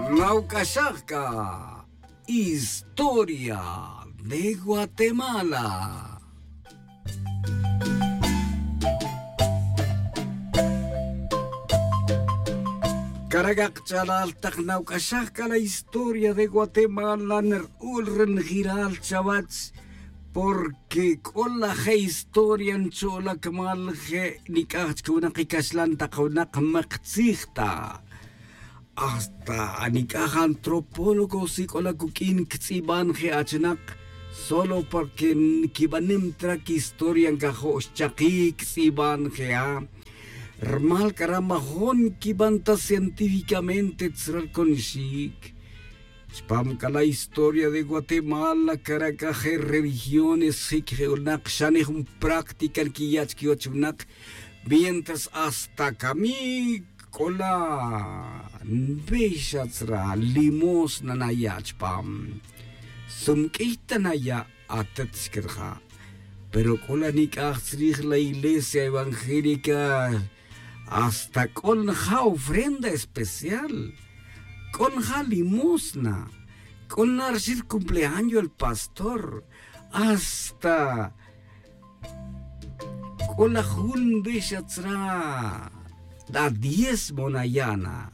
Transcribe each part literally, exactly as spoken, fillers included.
Nawc'axaj c'a historia de Guatemala. Cara' c'a kach'alal, tak nawc'axaj c'a la historia de Guatemala, nrk'ul ri njelal chawech, porque c'o la je' historia ncho' la cumal je' nic'aj chic winak i caxlan tak winak mektzij ta. Hasta anic'aj antropólogos y c'o la cuq'uin ctz'iban je' achinak, solo porque nquibanem ta ra quihistoria ncajo' xchaki ctz'iban je' a. Rmal c'a ra majon nquiban ta científicamente tzra ri conxic. Chupam c'a la historia de Guatemala, cara' c'a je' religiones jic je' winak xa ni jun práctica nquiya' chic chiwech winak, mientras hasta camic c'o la nbe xa tzra limosna naya' chupam. Sumq'uiy ta naya' atet chic rija'. Pero c'o la nic'aj tzrij la iglesia evangélica, hasta c'o nja' ofrenda especial, c'o nja' limosna, c'o na rixin ri cumpleaños el pastor, hasta c'o la jun nbe xa tzra la diezmo naya' na.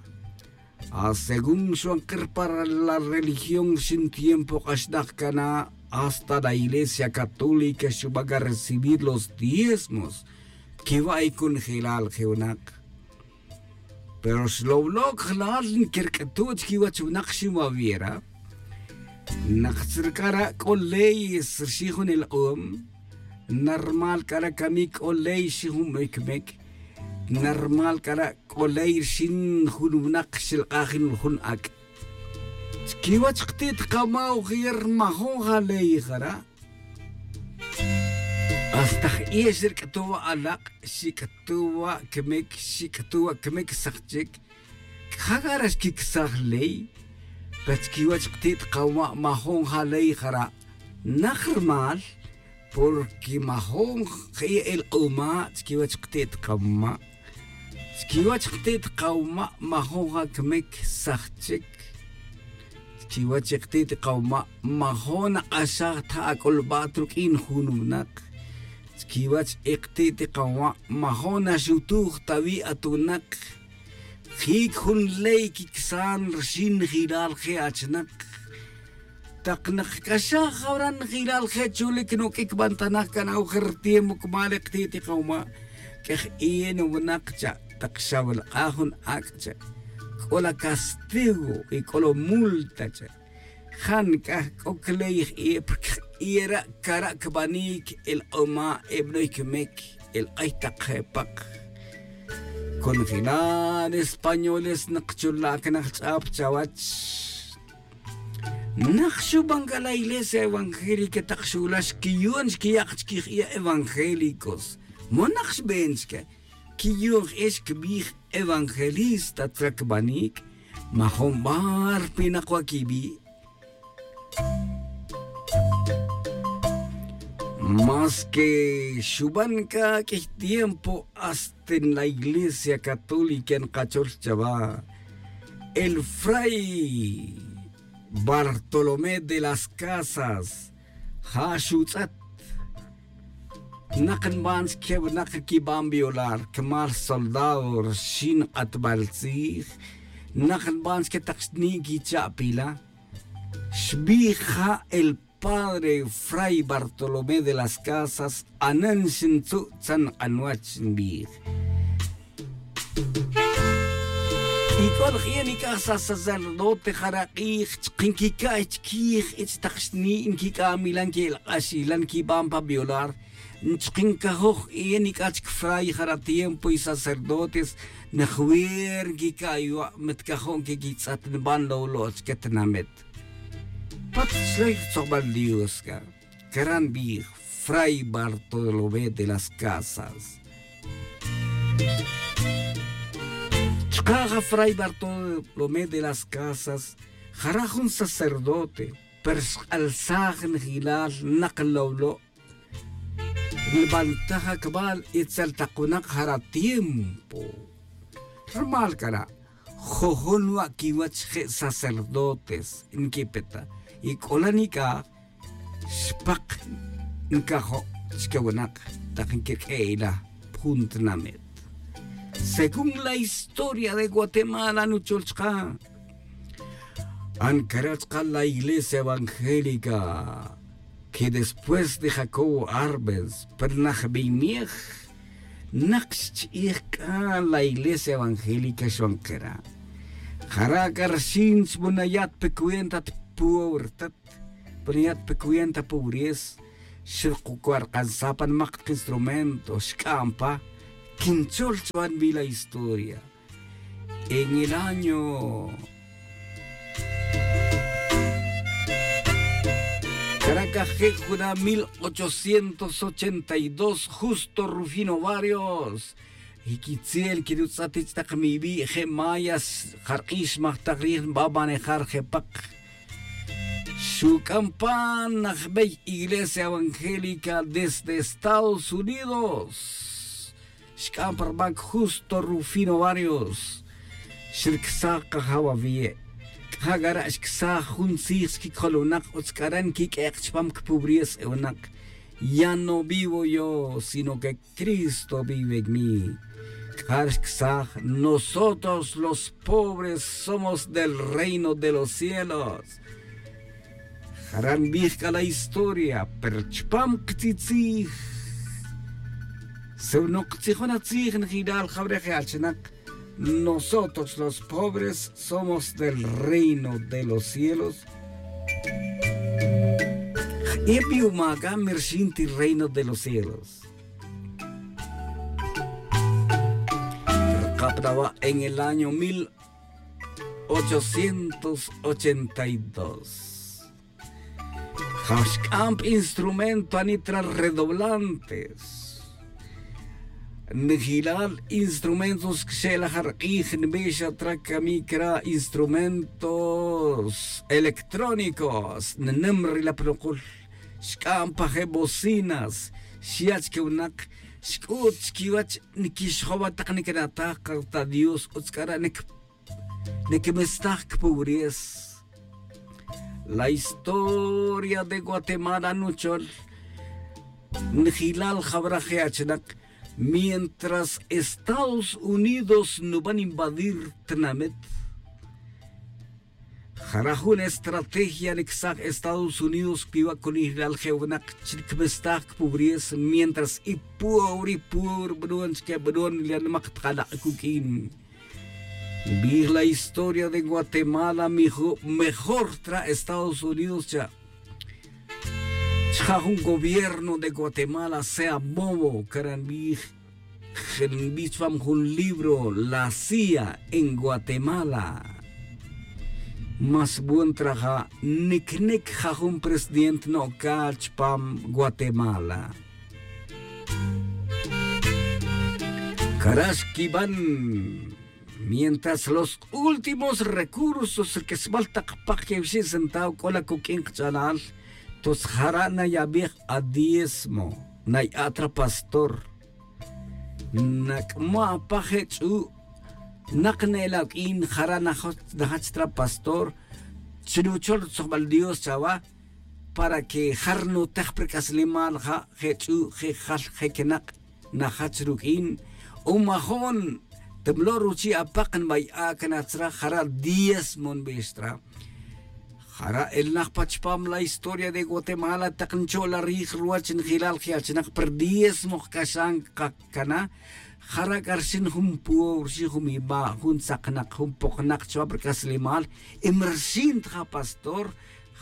A según xban ke ripara la religión rixin tiempo k'axnak cana, hasta la iglesia católica xuban ca recibir los diezmos. Quiwa' i cunjelal je' winak. Pero xlowlo' cajlal nquirq'uetu' chiquiwech winak xinwawiera. Nak tzirc'ara' c'o leyes rixin jun elk'om. Narmal c'ara' camic c'o ley rixin jun bey camic. Narmal c'ara' c'o ley rixin jun winak xelk'aj jun ac'. Chiquiwech kati't kama' ojer majon ja ley jara'. Hasta j'i'e xirq'uetu' wa' alak', xic'uetu' wa' camic, xic'uetu' wa' camic sak chic. C'a ja c'a ra xquicsaj ley. Pero chiquiwech kati't kama' majon ja ley jara'. Nak rmal, porque majon j'i'e elk'oma' chiquiwech kati't kama'. Chiquiwech kati't kama' majon ja camic sak chic. Chiquiwech i kati't kama' majon nak'axaj ta ac'ulbat ruq'uin jun winak. Chiquiwech i kati't kama' majon naxutuj ta wi' at winak. Jic jun ley quicsan rixin njelal je' achinak. Tak nakac'axaj jawara' njelal je' chulic nuq'uic bantanaj can awjer tiempo cumal i kati't kama'. Q'uej i nuwinak cha', tak xawelk'aj jun ac' cha', c'o la castigo y c'o la multa cha'. Ja nic'aj c'o cley j'i'e, porque j'i'e ra' cara' cbanic elk'oma' ebanoy camic, elk'ay tak je pak. Con jila' españoles nak chula' cana jch'ap chawech. Nak xuban c'a la iglesia evangélica tak xu'la' xquiyun xquiya' chiquij i evangélicos. Mo nak xben chique quiyun j'i'e xquibij evangelista tzra cbanic. Majon bar pinak wa' quibi'. Mas que xuban c'a q'uiy tiempo hasta en la iglesia católica nkachol chawa, el fray Bartolomé de las Casas ja xutz'et. Nak nban chique winak quiban violar cumal soldado rixin k'atbal tzij. Nak nban chique tak xtni' quicha'pila. Xbij ja el padre fray Bartolomé de las Casas, anen xintzu' tzan k'anwech nbij. Y c'o laj e nic'aj sacerdote jara' k'ij chkin quica'y chiquij ich tak xni' nquic'amilan quelk'axilan quiban pa violar. Chkin cajoj e nic'aj chic fray jara' tiempo y sacerdotes najwer nquica'y wa' mitcajo' nquiquitz'at nban lowlo' chique tinamit. Pat chlay ri tzojbal dios c'a cara' nbij fray bartolomé de las casas. Chka' ja fray bartolomé de las casas jara' jun sacerdote, pero xk'alsaj njilal nak lowlo'. Nbantaj acbal itzel tak winak jara' tiempo. Rumal cara' Jojun wa' quiwach je' sacerdotes nquipeta y c'ola nic'aj xpak ncajo' chque winak tak nquiq'ue' ila pa jun tinamit. Según la historia de guatemala nuchol chka, ancara' chka la iglesia evangélica que después de jacobo arbens pernajbeymiej, nak xchi'ij c'a la iglesia evangélica xban kera'. Jara' c'a rxin chbunayat pe cuenta ta puebro tat, bniyat pe cuenta pobres. Xrukucuark'ansa pa nmak tak instrumento xc'an pa quinchol chwa nbi la historia. En el año caracaj je' juna mil ochocientos ochenta y dos justo rufino varios y quitzel quirutz'at ich'tak mibi' je' mayas jark'ix majtak rij nba manejar je' pak. Xuc'an pan najbey iglesia evangélica desde estados unidos. Xc'an pa rmac justo rufino varios. Xrcsaj kajaw awie'. C'a ja' c'a ra' xcsaj jun tzij chiquicojol winak utz c'a ra' nquiq'uek' chupam cpubriez e winak. Ya no vivo yo sino que cristo vive en mí. C'a ja' ra' xcsaj nosotros los pobres somos del reino de los cielos. Jara' nbij c'a la historia pero chupam ktzitzij si no ktzijon atzij njelal jawre' je' achinak. Nosotros los pobres somos del reino de los cielos. J'ipi umaca mirxin ti reino de los cielos. Rkapnawa' en el año mil ochocientos ochenta y dos. Jaxc'amp instrumento anitra redoblantes. Nijilal instrumentos xe'la jark'ij nbix atra camic ra instrumentos electrónicos nnem ri la pnukul. Xc'amp pa je bocinas xya' chique winak xc'ut chiquiwech. Niquixjowa tak niquinataj karta dios utz c'ara' nic niquimestaj cpobres. La historia de guatemala nuchol nijilal jawra je' achinak. Mientras estados unidos nuban invadir tinamit jara' jun estrategia nicsaj estados unidos piwa' cunijilal je' winak chi nicmestaj cpobres mientras i puebro i puebro bnon chique bnon li animak tjalak' cuq'uin. Nbij la historia de guatemala mejor tra estados unidos cha' chja' jun gobierno de guatemala sea movo cara' nbij. Nbij chupam jun libro la cia en guatemala. Mas buen traja nicnic ja jun presidente no'cal chupam guatemala. Cara' xquiban mientras los últimos recursos rquesbal tak pak quewixic centavo c'o la cuq'uin kach'alal. Totz jara' nayabij adiesmo naya'at ra pastor. Nac'ma' pa je ch'u' nak ne'el awq'uin jara' najach tra pastor. Chi nuchol rutzojbal dios chawa para que ja rnutej pa rc'aslemal ja je ch'u' je jal je quenak najach ruq'uin. O majo'n temlo' ruchi' apak nbay a' cana tzra jara' diezmo nbix tra. Jara' elnaj pa chupam la historia de guatemala tak ncho'la rij ruwach njelal je achinak pa rdiezmo jc'axan cana. Jara' c'a rxin jun puow rxin jun miba' jun tzaknak jun poknak chuwap rc'aslemal. Y mi rxin ta ja pastor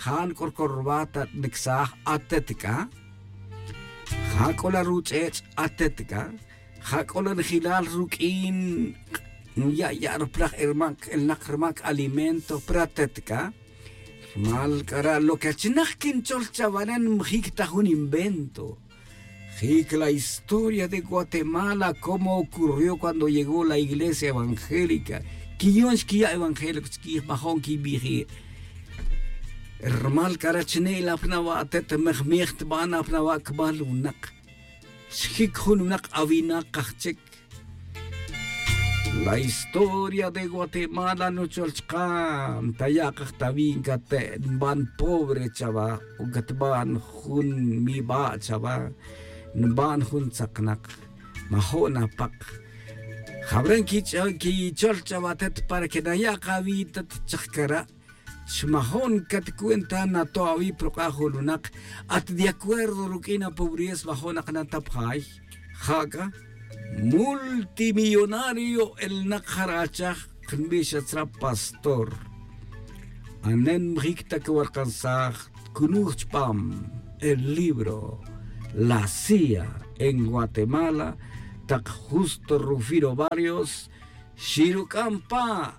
ja nc'o rcorbat ta nicsaj atet c'a. Ja c'o la ruch'ech' atet c'a. Ja c'o la njelal ruq'uin nya'ya' ruplaj elmac elnak rmac alimento pratet c'a. Rmal c'ara' lo que achinak quinchol chawanen njic ta jun invento. Jic la historia de guatemala cómo ocurrió cuando llegó la iglesia evangélica. Quiyon xquiya' evangélico chiquij majo'n quibiji'. Rmal c'ara' chine' la pnawa' atet mejmej tban apnawa' cbal winak. Xjic jun winak awinak kajchic. La historia de Guatemala nuchol chka' ntayakaj ta wi' nkate' nban pobre chawa o katban jun miba' chawa, nban jun tzaknak, majo' napak. Jawra' nkich'o nkichol chawa atet para que naya' kawi' tet chajkara'. Xmajo'n cat cuenta nato' awi' prok'a' jun lunak at de acuerdo ruq'uin apobreza majo'nak na ta pjay. Ja c'a multimillonario elnak jara' achaj, knbix atzra' pastor. Anen mjic ta cawalkansaj tcunuj chupam el libro la cia en guatemala tak justo rufino varios xiruc'am pa.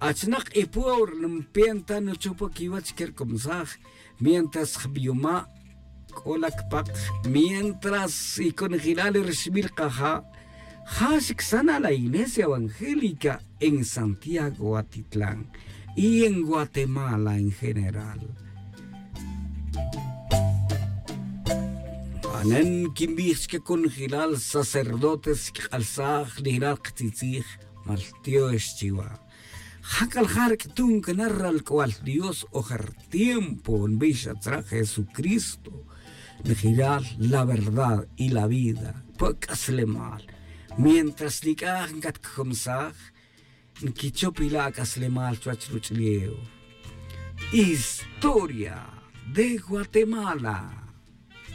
Achnak y pueblo npenta nuchupa quiwach quercomsaj mientras jbiyuma' c'o la cpak. Mientras y conjelal rixbil kaja' ja xicsan a la iglesia evangélica en santiago atitlan y en guatemala en general. Anen quinbij chique conjelal sacerdotes quik'alsaj nijnal ktzitzij. Maltiox chiwa. Jac'al ja' rc'tun cana ralc'ual dios ojer tiempo nbix atzra' jesucristo. Njiral la verdad y la vida pa c'aslemal. Mientras nic'aj ncatcujumsaj nquichop ila' ac'aslemal chuwech ruch'ulef. Historia de guatemala.